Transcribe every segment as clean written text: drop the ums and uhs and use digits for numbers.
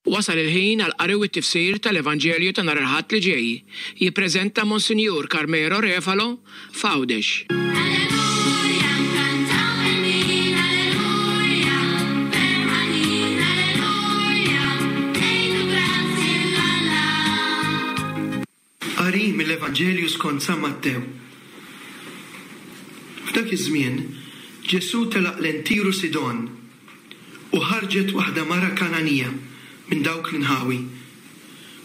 Wasal il-ħin għall-qari u t-tifsir tal-Evanġelju ta' nhar il-Ħadd li ġej. Jippreżenta Monsinjur Carmelo Refalo f'Għawdex. Alleluja, nkantaw il-min, alleluja, ferħanin, alleluja, ngħidu grazzi 'l Alla. Qari mill-Evanġelju skont San Mattew. F'dak iż-żmien, Ġesù telaq lejn Tir u Sidon, u ħarġet waħda mara Kangħanija minn dawk l-inħawi,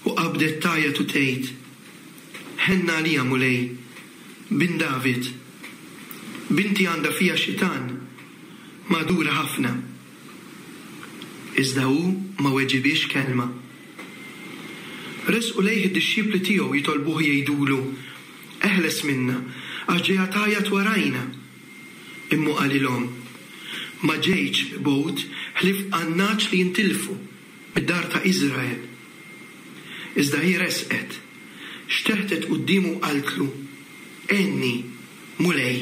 u qabdet tgħajjat u tgħid, Ħenna għalija, Mulej, Bin David! Binti għandha fiha xitan, magħdura ħafna. Iżda hu ma weġibhiex kelma. Resqu lejh id-dixxipli tiegħu jitolbuh jgħidulu, Eħles minna, għax ġejja tgħajjat warajna. Imma hu qalilhom, Ma ġejtx mibgħut ħlief għan-nagħaġ li jintilfu mid-dar ta' Iżrael. Iżda hi resqet, xteħtet quddiemu u qaltlu, Għinni, Mulej.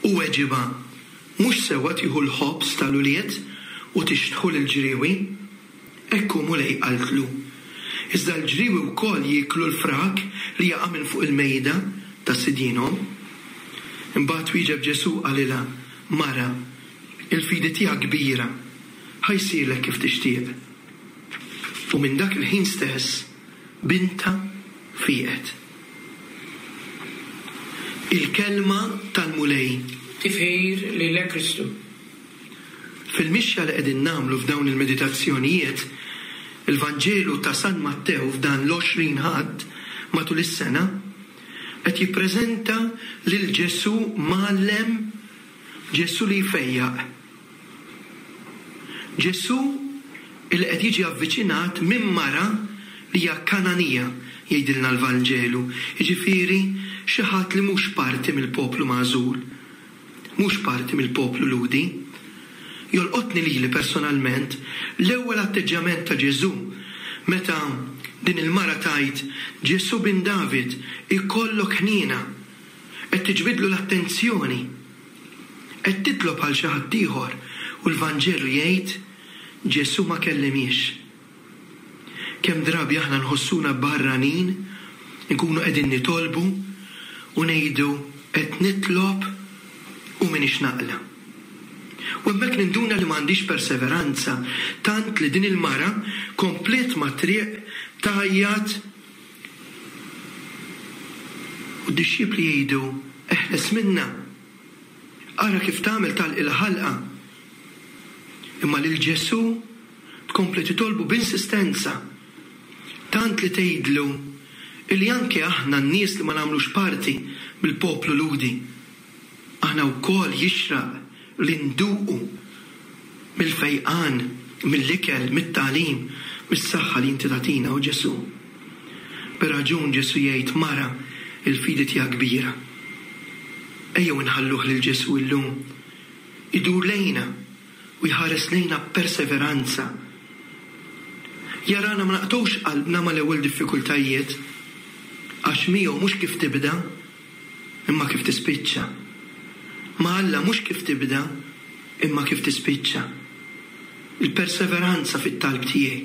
Hu weġibha, Mhux sewwa tieħu l-ħobż tal-ulied u tixtħu lill-ġriewi? Hekk hu, Mulej, qaltlu. Iżda l-ġriewi wkoll jieklu l-frak li jaqa' minn fuq il-mejda ta' sidinhom. Imbagħad wieġeb Ġesù u qalilha, Mara, il-fidi tiegħek kbira, ħa jsirlek kif tixtieq. U minn dak il-ħin stess bintha fieqet. Il-Kelma tal-Mulej. Tifħir lilek Kristu. Fil-mixja li qegħdin nagħmlu f'dawn il-meditazzjonijiet, il-Vanġelu ta' San Mattew f'dan l-20 Ħadd matul is-sena qed jippreżenta lil Ġesù mgħallem, Ġesù li jfejjaq. Ġesù li qed jiġi avviċinat minn mara li hija Kangħanija, jgħidilna l-Vanġelu, jiġifieri xi ħadd li mhux parti mill-poplu magħżul. mhux parti mill-poplu Lhudi. Jolqotni lili personalment l-ewwel atteġġjament ta' Ġesù meta din il-mara tgħid, Ġesù bin David, ikollok ħniena. Qed tiġbidlu l-attenzjoni. Qed titlob għal xi ħadd ieħor u l-Vanġelu jgħid, Ġesù ma kellimhiex. Kemm drabi aħna nħossuna barranin, inkunu qegħdin nitolbu u ngħidu qed nitlob u m'iniex naqla'. U hemmhekk ninduna li m'għandix perseveranza tant li din il-mara kompliet mat-triq tgħajjat u d-dixxipli jgħidu eħles minnha. Ara kif tagħmel tagħlqilha ħalqha. Imma lil Ġesù Tkompli titolbu b'insistenza, tant li tgħidlu illi anke aħna n-nies li ma nagħmlux parti mill-poplu Lhudi, aħna wkoll jixraq li nduqu mill-fejqan, mill-ikel, mit-tagħlim, mis-saħħa li inti tagħtina, o Ġesù. Bir-raġun Ġesù jgħid, Mara, il-fidi tiegħek kbira. Ejjew inħalluh lil Ġesù illum idur lejna u jħares lejna b'perseveranza. Jarana ma naqtgħux qalbna mal-ewwel diffikultajiet, għax miegħu mhux kif tibda, imma kif tispiċċa. Ma' Alla mhux kif tibda, imma kif tispiċċa. Il-perseveranza fit-talb tiegħi,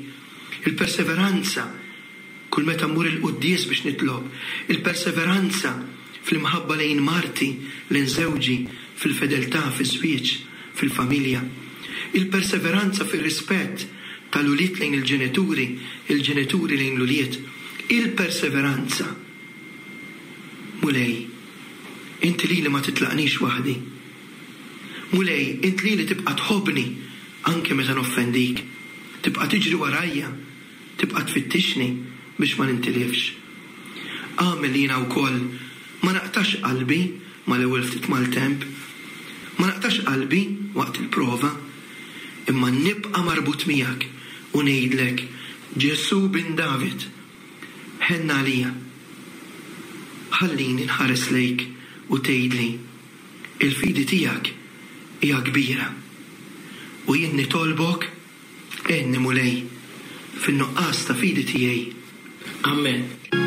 il-perseveranza Kull meta mmur il-quddies biex nitlob, il-perseveranza fl-imħabba lejn marti, lejn żewġi, fil-fedeltà fiż-żwieġ, fil-familja. Il-perseveranza fir-rispett tal-ulied lejn il-ġenituri, il-ġenituri lejn l-ulied. Il-perseveranza. Mulej, inti lili ma titlaqnix waħdi. Mulej, int lili tibqa' tħobbni anke meta noffendik. Tibqa' tiġri warajja. Tibqa' tfittixni biex ma nintilifx. Agħmel li jiena wkoll ma naqtax qalbi mal-ewwel ftit maltemp, ma naqtax qalbi waqt il-prova, imma nibqa' marbut miegħek u ngħidlek, Ġesù Bin David, ħenn għalija. Ħallini nħares lejk u tgħidli, Il-fidi tiegħek hija kbira. U jien nitolbok Għinni Mulej, fin-nuqqas ta' fidi tiegħi. Amen.